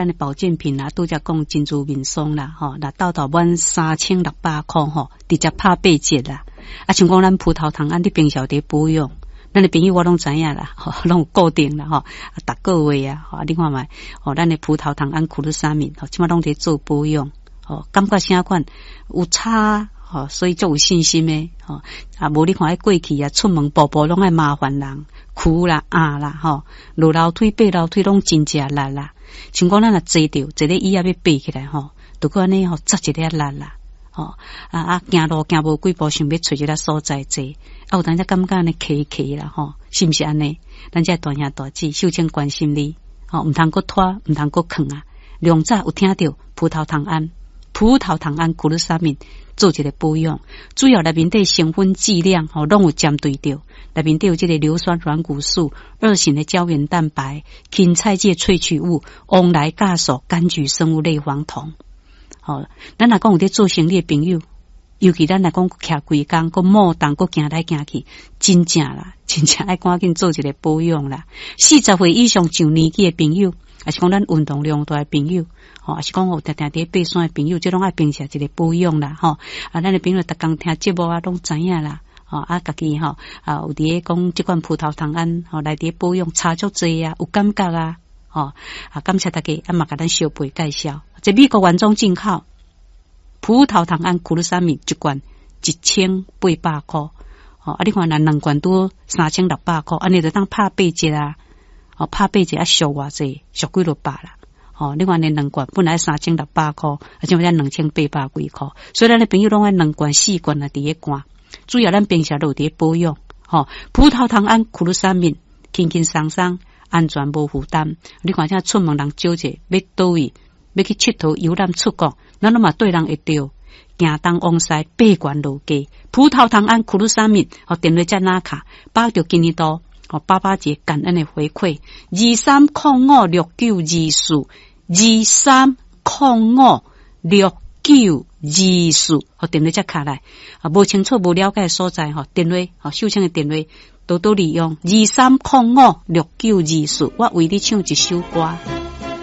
咱的保健品啊，拄才講珍珠面霜啦，吼，若鬥鬥滿3600箍吼，直接拍八折啦。啊，像講咱葡萄糖胺，你平常佇保養，咱的朋友我攏知影啦，吼，攏有固定啦，吼，啊，逐個月啊，吼，你看覓，吼，咱的葡萄糖胺苦魯沙敏，吼，這馬攏佇做保養，吼，感覺啥款有差，吼，所以足有信心的，吼，啊，無你看彼過去啊，出門步步攏愛麻煩人，跍啦、壓啦，吼，落樓梯、爬樓梯攏真正力啦。像講咱若坐著，坐咧椅仔欲爬起來吼，就閣按呢吼，扎一下力啦，吼啊啊，行路行無幾步，想欲揣一个所在坐，啊有當時感覺按呢騎騎啦吼，是毋是按呢？咱這大兄大姊，秀清關心你，吼，毋通閣拖，毋通閣囥啊！良早有聽著葡萄糖胺，葡萄糖胺苦魯沙敏做一個保養，主要內面底成分劑量吼，攏有針對著。內面底有這個硫酸軟骨素、二型的膠原蛋白、芹菜芥萃取物、黃來酵素、柑橘生物類黃酮。吼，咱若講有佇做生理的朋友，尤其咱若講徛規工，閣摩動，閣行來行去，真正啦，真正愛趕緊做一個保養啦。40歲以上上年紀的朋友，抑是講咱運動量大的朋友，吼，抑是講有定定佇爬山的朋友，這攏愛平時一個保養啦，吼。啊，咱的朋友逐工聽節目啊，攏知影啦。吼啊，家己吼啊，有佇咧講這款葡萄糖胺吼來佇咧保養，差足濟啊，有感覺啊，吼啊，感謝大家啊嘛，共咱小貝介紹，這美國原裝進口葡萄糖胺苦魯沙米一罐1800箍，吼啊，你看若兩罐拄3600箍，按呢就當拍八折啊，哦，拍八折啊，俗偌濟，俗幾落百啦，吼，你看呢兩罐本來3600箍，啊，這馬才2800幾箍，所以咱的朋友攏愛兩罐四罐啊，佇咧罐。主要咱平時都有佇保養，吼，葡萄糖胺苦魯沙敏，輕輕鬆鬆，安全無負擔。你看這出門人少者，欲佗位，欲去𨑨迌遊覽出國，咱攏嘛綴人會著。行東往西，爬懸落低，葡萄糖胺苦魯沙敏，吼，電話才拿卡，把握著今年度，吼，爸爸節感恩的回饋，23056924，23056924，予電話才敲來，啊，無清楚、無了解的所在，吼，電話，吼，秀清的電話，多多利用，23056924，我為你唱一首歌。